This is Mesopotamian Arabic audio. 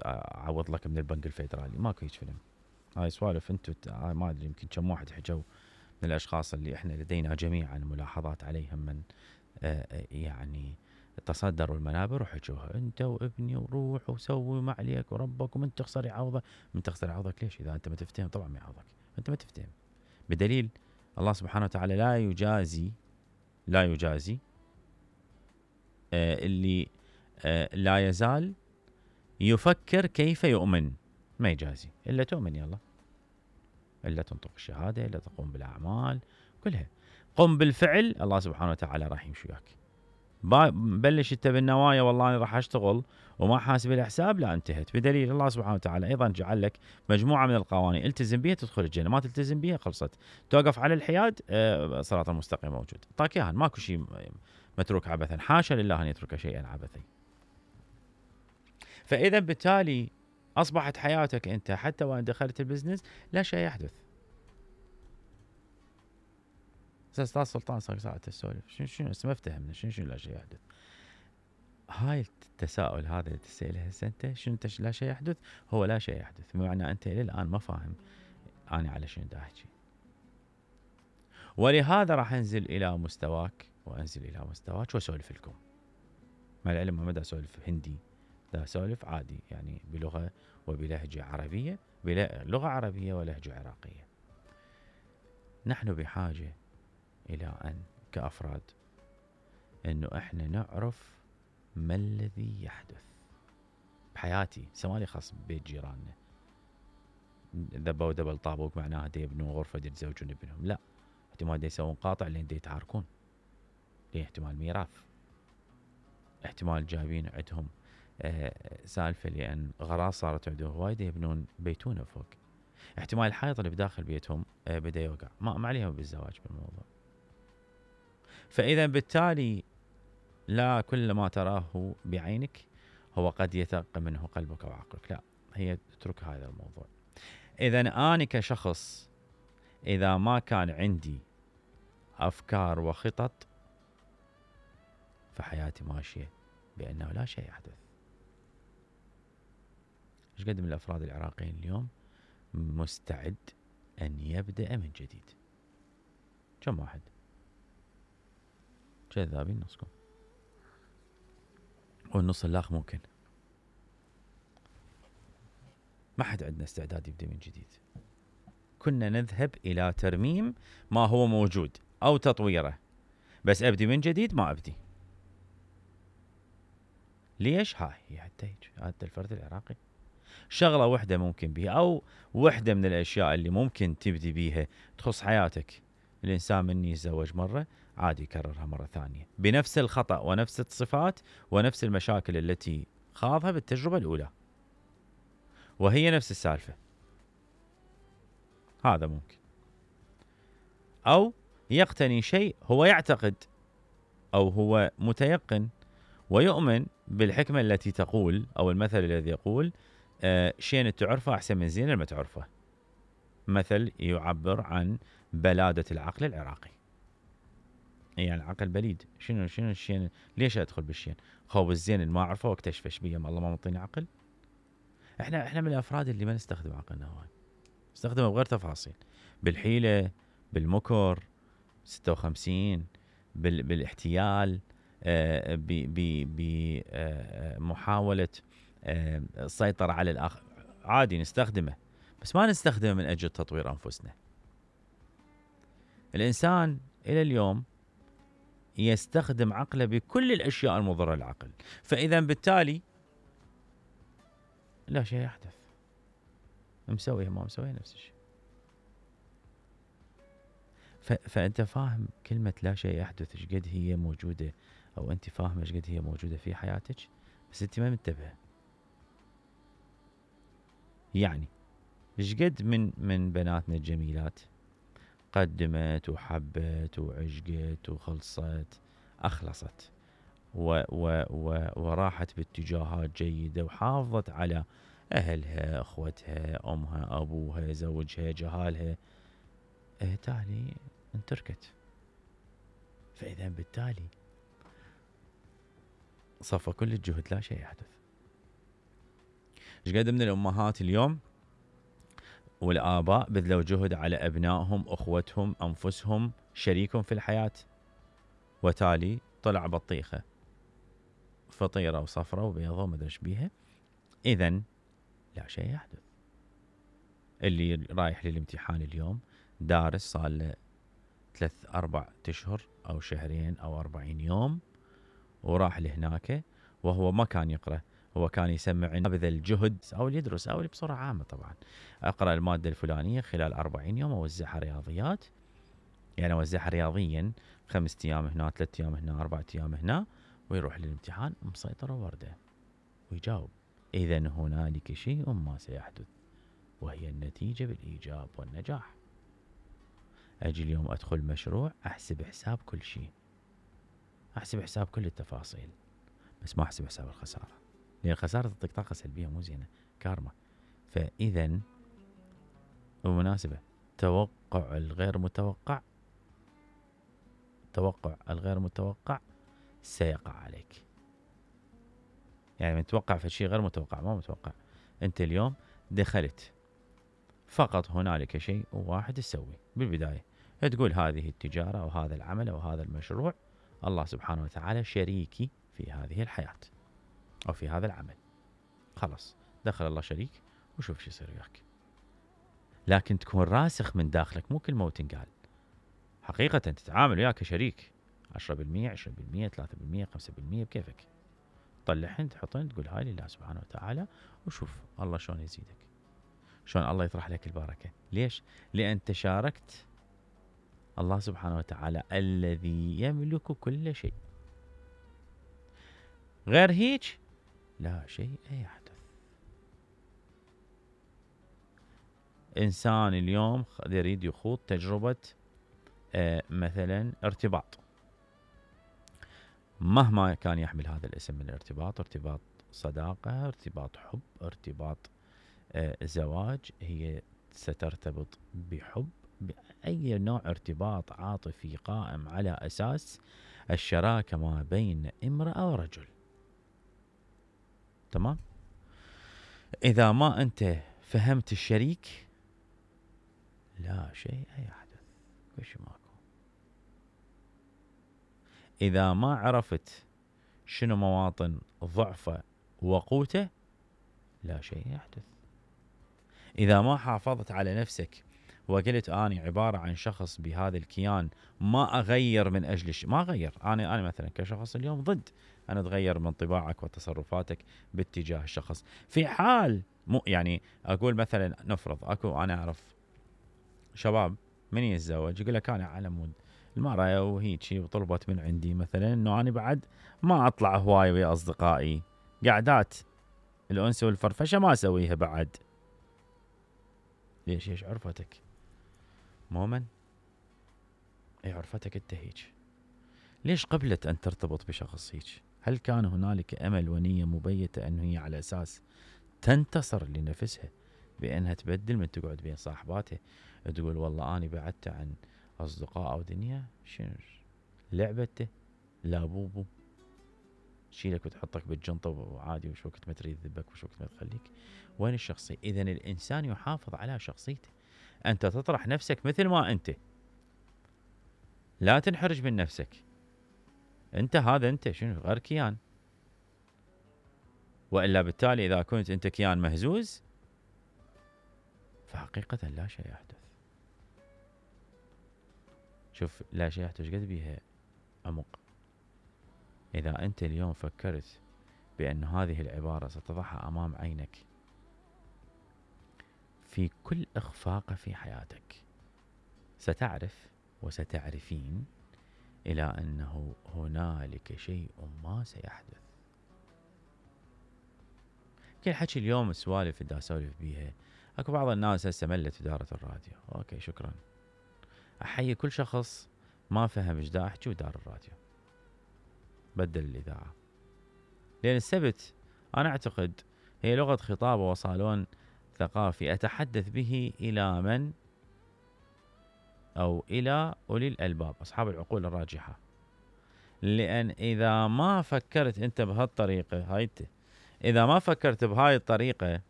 اعوض لك من البنك الفيدرالي، ماكو هيج فيلم. هاي سوالف انتم ما ادري يمكن كم واحد حجوا من الاشخاص اللي احنا لدينا جميعا ملاحظات عليهم من يعني تصدروا المنابر وحجوها انت وابني وروح وسوي ما عليك وربك ومن تخسر يعوضك. من تخسر يعوضك ليش؟ اذا انت ما تفتهم طبعا ما يعوضك، انت ما تفتهم. بدليل الله سبحانه وتعالى لا يجازي اللي لا يزال يفكر كيف يؤمن، ما يجازي الا تؤمن. يلا الا تنطق الشهاده، الا تقوم بالاعمال كلها، قم بالفعل، الله سبحانه وتعالى راح يمشي وياك. بلش انت بالنوايا والله انا راح اشتغل وما حاسب الحساب، لا انتهت. بدليل الله سبحانه وتعالى ايضا جعل لك مجموعه من القوانين التزم بها تدخل الجنه، ما تلتزم بها خلصت. توقف على الحياد صراط المستقيم موجود، طاك اياها، ماكو شيء متروك عبثا، حاشا لله ان يترك شيئا عبثا. فاذا بالتالي اصبحت حياتك انت حتى وان دخلت البزنس لا شيء يحدث. استاذ سلطان صار ساعه تسولف شنو ما افتهمنا شنو لا شيء يحدث. هاي التساؤل هذا اللي تسأله هسه انت شنو لا شيء يحدث، هو لا شيء يحدث، بمعنى انت الى الان ما فاهم انا على شنو دا احكي. ولهذا راح انزل الى مستواك وانزل الى مستواك واسولف لكم. مع العلم ما دا اسولف هندي، دا اسولف عادي يعني بلغه وبلهجه عربيه، بلغه عربيه ولهجه عراقيه. نحن بحاجه الى ان كافراد انه احنا نعرف ما الذي يحدث بحياتي، سوالي خاص ببيت جيراننا. ذبوا دبل طابوق معناها دي يبنون غرفه دي يتزوجون ابنهم، لا، احتمال دي يسوون قاطع لين دي يتعاركون، ليه احتمال ميراث، احتمال جايبين عندهم سالفه لان غراض صارت عندهم هواي يبنون بيتونه فوق، احتمال الحائط اللي بداخل بيتهم بدا يوقع، ما عليهم بالزواج بالموضوع. فاذا بالتالي لا كل ما تراه بعينك هو قد يتق منه قلبك وعقلك، لا، هي اترك هذا الموضوع. اذا انا كشخص اذا ما كان عندي افكار وخطط فحياتي ماشيه بانه لا شيء يحدث. ايش قد من الافراد العراقيين اليوم مستعد ان يبدا من جديد؟ كم واحد؟ كذابين نصكم، والنص الاخ ممكن ما حد عندنا استعداد يبدا من جديد. كنا نذهب الى ترميم ما هو موجود او تطويره، بس ابدي من جديد ما ابدي. ليش؟ هاي هي حتى الفرد العراقي شغله وحده ممكن بيها، او وحده من الاشياء اللي ممكن تبدي بيها تخص حياتك. الانسان من يتزوج مره عادي يكررها مره ثانيه بنفس الخطا ونفس الصفات ونفس المشاكل التي خاضها بالتجربه الاولى، وهي نفس السالفه. هذا ممكن. او يقتني شيء هو يعتقد او هو متيقن ويؤمن بالحكمه التي تقول او المثل الذي يقول شيء تعرفه احسن من زين ما تعرفه. مثل يعبر عن بلاده العقل العراقي، يعني العقل بليد. شنو الشيء؟ ليش ادخل بالشيء؟ خوب الزين اللي ما اعرفه واكتشفه ايش بيه، الله ما مطيني عقل. احنا من الافراد اللي ما نستخدم عقلنا هواي، نستخدمه بغير تفاصيل، بالحيله، بالمكر، 56، بالاحتيال، بمحاولة السيطرة على الآخر. عادي نستخدمه، بس ما نستخدمه من أجل تطوير أنفسنا. الإنسان إلى اليوم يستخدم عقله بكل الأشياء المضرة للعقل، فإذا بالتالي لا شيء يحدث، مسويه ما مسويه نفس الشيء. فأنت فاهم كلمة لا شيء يحدث ايش قد هي موجودة، أو أنت فاهمة ايش قد هي موجودة في حياتك، بس أنت ما منتبهة. يعني ايش قد من بناتنا الجميلات قدمت وحبت وعشقت وخلصت، أخلصت وراحت باتجاهات جيدة وحافظت على أهلها، أخوتها، أمها، أبوها، زوجها، جهالها، تالي انتركت. فإذا بالتالي صفى كل الجهد لا شيء يحدث. ايش قد من الامهات اليوم والاباء بذلوا جهد على ابنائهم، اخوتهم، انفسهم، شريكهم في الحياه، وتالي طلع بطيخه فطيره وصفرة وبيضه وما ادري ايش بيها. اذا لا شيء يحدث. اللي رايح للامتحان اليوم دارس صار له 3-4 اشهر او شهرين او 40 يوم، وراح لهناك وهو ما كان يقرأ، هو كان يسمع بذل الجهد او يدرس او بصورة عامة طبعا اقرأ المادة الفلانية خلال 40 يوم اوزعها رياضيات، يعني اوزعها رياضيا 5 ايام هنا 3 ايام هنا 4 ايام هنا، ويروح للامتحان مسيطر وردة ويجاوب. اذا هنالك شيء ما سيحدث وهي النتيجة بالايجاب والنجاح. اجي اليوم ادخل مشروع احسب حساب كل شيء، احسب حساب كل التفاصيل، بس ما احسب حساب الخسارة، لان الخسارة تعطيك طاقة سلبية مو زينة، كارما. فاذا بالمناسبة توقع الغير متوقع سيقع عليك. يعني من توقع في شيء غير متوقع ما متوقع. انت اليوم دخلت فقط هنالك شيء واحد تسوي بالبداية، تقول هذه التجارة او هذا العمل او هذا المشروع الله سبحانه وتعالى شريكي في هذه الحياة او في هذا العمل. خلاص دخل الله شريك وشوف شو يصير وياك. لكن تكون راسخ من داخلك، مو كلمة وتنقال، حقيقة تتعامل وياك كشريك 10%، 20%، 3%، 5% بكيفك. طلعهن تحطهن تقول هاي لله سبحانه وتعالى، وشوف الله شلون يزيدك، شلون الله يطرح لك البركة. ليش؟ لأن تشاركت الله سبحانه وتعالى الذي يملك كل شيء. غير هيك لا شيء يحدث. إنسان اليوم يريد يخوض تجربة مثلا ارتباط، مهما كان يحمل هذا الاسم من الارتباط، ارتباط صداقة، ارتباط حب، ارتباط زواج، هي سترتبط بحب، بأي نوع ارتباط عاطفي قائم على أساس الشراكة ما بين امرأة ورجل. تمام؟ إذا ما أنت فهمت الشريك لا شيء يحدث، وش ماكو. إذا ما عرفت شنو مواطن ضعفه وقوته لا شيء يحدث. إذا ما حافظت على نفسك وقلت أنا عبارة عن شخص بهذا الكيان ما أغير من أجل ما أغير، أنا مثلا كشخص اليوم ضد أن أتغير من طباعك وتصرفاتك باتجاه الشخص. في حال مو يعني أقول مثلا نفرض أكو أنا أعرف شباب من يتزوج يقول لك أنا على مود المرأة وهيجي وطلبت من عندي مثلا إنه أنا بعد ما أطلع هواي ويا أصدقائي، قعدات الأنس والفرفشة ما أسويها بعد. ليش؟ ايش عرفتك؟ مؤمن؟ اي عرفتك انت هيك؟ ليش قبلت ان ترتبط بشخص هيك؟ هل كان هنالك امل ونية مبيتة انه هي على اساس تنتصر لنفسها بانها تبدل من تقعد بين صاحباتها تقول والله اني بعدت عن اصدقاء او دنيا؟ شنو لعبته؟ لا بوبو تشيلك وتحطك بالجنطة وعادي وش وقت ما تريد ذبك وش وقت ما تخليك. وين الشخصية؟ اذا الانسان يحافظ على شخصيته. انت تطرح نفسك مثل ما انت، لا تنحرج من نفسك. انت هذا انت شنو غير كيان، والا بالتالي اذا كنت انت كيان مهزوز فحقيقة لا شيء يحدث. شوف لا شيء يحدث قد بيها عمق. اذا انت اليوم فكرت بان هذه العبارة ستضعها امام عينك في كل اخفاق في حياتك، ستعرف وستعرفين إلى أنه هنالك شيء ما سيحدث. كل حكي اليوم السوالف اللي أسولف بيها، أكو بعض الناس هسه ملت إدارة الراديو. أوكي شكرا، أحيي كل شخص ما فهم إيش دا أحكي ودار الراديو بدل الإذاعة، لأن السبت أنا أعتقد هي لغة خطاب وصالون ثقافي أتحدث به إلى من أو إلى أولي الألباب أصحاب العقول الراجحة. لأن إذا ما فكرت أنت بهالطريقة هاي اذا ما فكرت بهاي الطريقة